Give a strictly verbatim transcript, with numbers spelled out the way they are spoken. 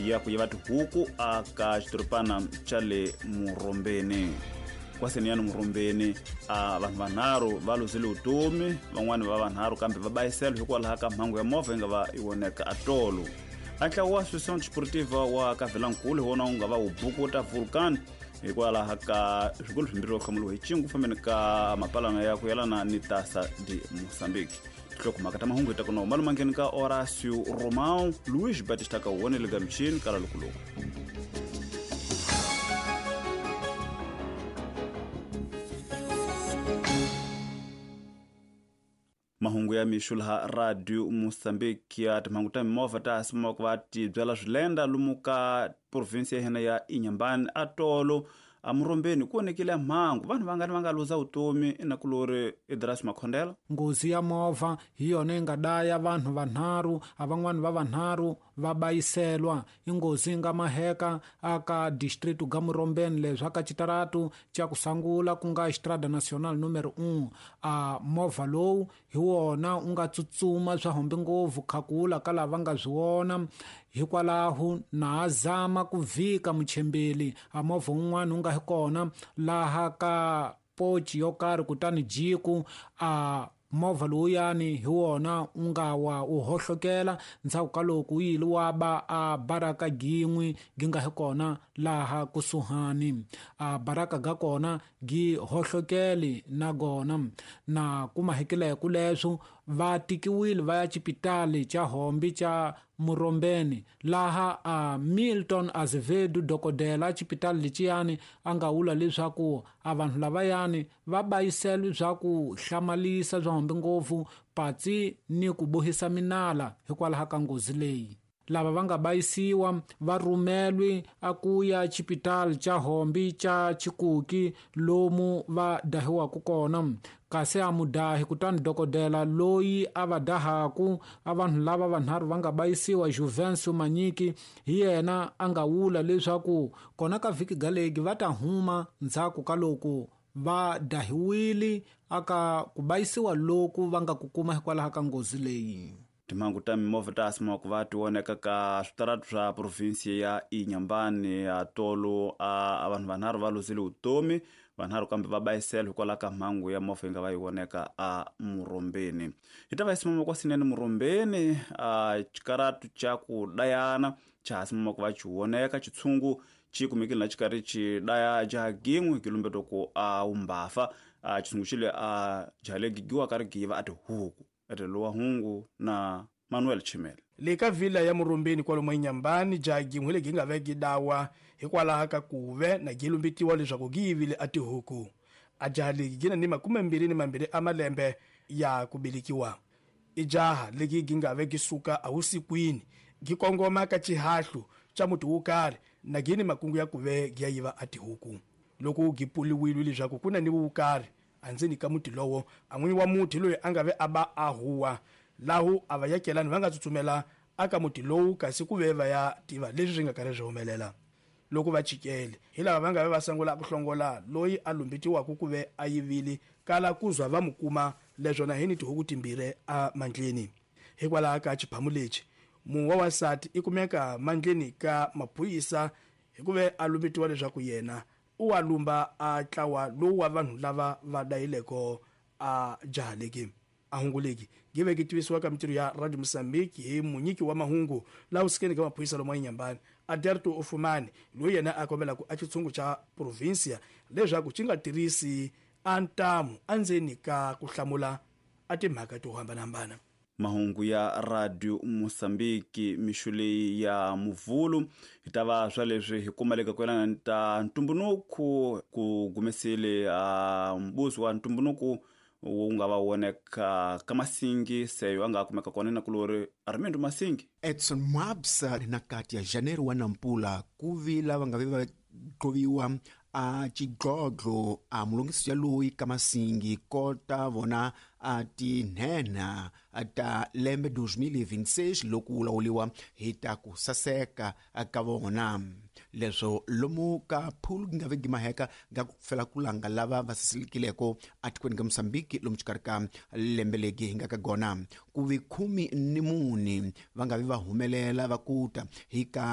Ya ku yiva tihuku aka xidorobana xa le Murombeni. Kwaseniyani Murombeni a vanhu vanharhu va luzile vutomi, van'wani va vanharhu kambe va bayisela hikwalaho ka mhangu ya movha yi nga va yi voneka atolo. A ntlawa wa Associação Desportiva wa Kavelankulu hi wona wu nga va wu bukuta Vulcan hikwalaho ka swikolo swimbirhi swo hlamuriwa hi cingu fambeni ka mapalana ya ku yelana ni Taça de Moçambique. Tinhlokomhaka ta mahungu hi ta ku na malumangeni ka Horácio Romão, Luís Batista Kaone le ka michini kala lukuluku. Mahungu ya mixo laha Radio Moçambique ya timhangu ta mimovha ta sima ku va ti byala swilenda lomu ka province ya hina ya Inhambane atolo a Murombeni ku onekile mhangu vanhu vangani va nga luza vutomi inakulori Idras Makhondela. Nghozi ya movha hi yona yi nga daya vanhu vanharhu, a van'wani va vanharhu va bayiselwa. I nghozi yi nga maheka aka district ga Murombeni leswi aka xitaratu xa ku sungula ku nga Estrada Nacional numero un. A movha lowu hi wona u nga tsutsuma swa hombe ngopfu khakula ka lava nga swi vona, hikwalaho na zama ku vhika muchembeli a movha wun'wana wu nga hi kona laha ka pochi yo karhi, kutani jiku a movha lowuyani hi wona u nga wa u hohlokela ndzhaku ka loko wu yile wa ba a baraka gin'we gi nga hi kona laha kusuhani. A baraka ga kona gi hohlokeli na gona na kuma hekileko leswo va tikiwile va ya xipitali xa Hombi xa Murombeni laha a Milton Azevedo dokodela xipitali lexiyani a nga vula leswaku a vanhu lavayani va bayisela swa ku hlamalisa bya hombi ngopfu patsi ni ku bohisa minala hikwalaho ka nghozi leyi. Lava va nga bayisiwa va rhumelwi a ku ya xipitali xa Hombi xa Chikuki lomu va dahiwaka kona, kasi a mudahi kutani dokodela loyi a va dahaku a vanhu lava vanharhu va nga bayisiwa Juvencio Manyiki hi yena a nga vula leswaku kona ka vhiki galegi va ta huma ndzhaku ka loko va dahiwile aka ku bayisiwa loku va nga ku kuma hikwalaho ka nghozi leyi. Timhangu ta mimovha ta sima ku va ti voneka ka switaratu swa province ya Inhambane atolo a vanhu vanharhu va luzile vutomi, vanharhu kambe va bayisela hikwalaho ka mhangu ya movha yi nga va yi voneka a Murombeni. Hi ta va hi simama kwa sinene Murombeni a xikaratu xa ku dayana xa ha simama ku va xi voneka xitshungu xi kumekile na xikarhi xi daya jaha gin'we kilombeto ku a wumbafa a xitshungu xi le a jaha le gigiwa ka ri giva a tihuku. Lowa hungu na Manuel Chimele. Le ka vila ya Murombeni kwalomu Inhambane jaha gin'we legi nga ve gi dawa hikwalaho ka kuve na gi lumbetiwa leswaku gi yivile a tihuku. A jaha legi gi na ni makume mbirhi ni mambirhi a malembe ya ku velekiwa. I jaha legi gi nga ve gi suka avusikwini gi kongoma ka xihahlu xa muti wo karhi na gi ni makungu ya kuve gi ya yiva a tihuku. Loko gi puliwile leswaku ku na ni vukarhi andzeni ka muti lowo, a n'winyi wa muti loyi a nga ve a ba a huwa lahu a va yakelani va nga tsutsumela aka muti lowu kasi ku ve va ya tiva leswi swi nga karhi swi humelela. Loko va chikele hi lava va nga ve va sungula ku hlongola loyi a lumbetiwaka ku ve a yivile kala ku zwa va mu kuma leswo na hi ni tihuku timbirhi a mandleni. Hikwalaho ka xiphamu lexi munhu wa wansati i kumeka mandleni ka maphorisa hikuve a lumbetiwa leswaku yena u wa lumba a tlawa lowu wa vanhu lava va dayileko a jaha leki a hungu leki gi ve gi tivisiwa ka mintirho ya Radio Moçambique hi munyiki wa mahungu laha usikeni ka maphorisa lomu Inhambane Aderto Ofumani loyi yena a kombelaka a xitshungu xa provinsia leswaku xi nga tirhisi a ntamu endzeni ka ku hlamula a timhaka to hambanahambana. Mahungu ya Radio Moçambique mixo leyi ya Muvhulu hi ta va swa leswi hi kumaleka ku yelana ta ntumbunuku ku gumesile a mbuzi wa ntumbunuku wu nga va voneka ka Masingi seyo a nga kumeka kona na kulori Armando Masingi. Edson Mwabsa na kati ya Janeiro wa Nampula ku vi lava nga ve va qoviwa a xidlodlo a mulungisi ya loyi ka Masingi kota vona a tinhenha ta lembe twenty twenty-six loko wu lawuriwa hi ta ku saseka ka vona. Leswo lomu ka phulu nga ve gimaheka nga ku fela ku langa lava va sasekileko atikweni ka Mozambique lomu xikarhi ka lembe legi hi nga ka gona ku vi khumi ni mune va nga vi va humelela va kuta hi ka